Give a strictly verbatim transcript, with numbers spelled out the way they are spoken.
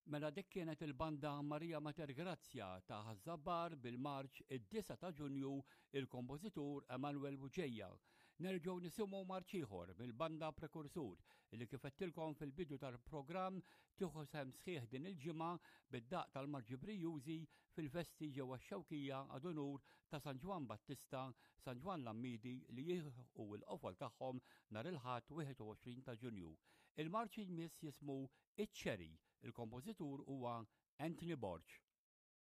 Mela dik kienet il-banda Maria Mater Grazia ta' Ħaż-Żabbar bil-marċ id-disgħa ta' Ġunju, il-kompożitur Emanuel Buġeja. Nerġgħu nisimgħu marċ ieħor mill-banda Prekursur li, kif għedtilkom fil-bidu tal-programm, tieħu sehem sħiħ din il-ġimgħa bid-daq tal-marċi brijużi fil-festi ġewwa x-Xewkija ad unur ta' San Ġwann Battista, San Ġwann Lammidi, li jilħqu l-qofol tagħhom nhar il-Ħadd wieħed u għoxrin ta' Ġunju. Il-marċ jmiss jismu Iċ-Ċeri, il-kompożitur huwa Anthony Borg.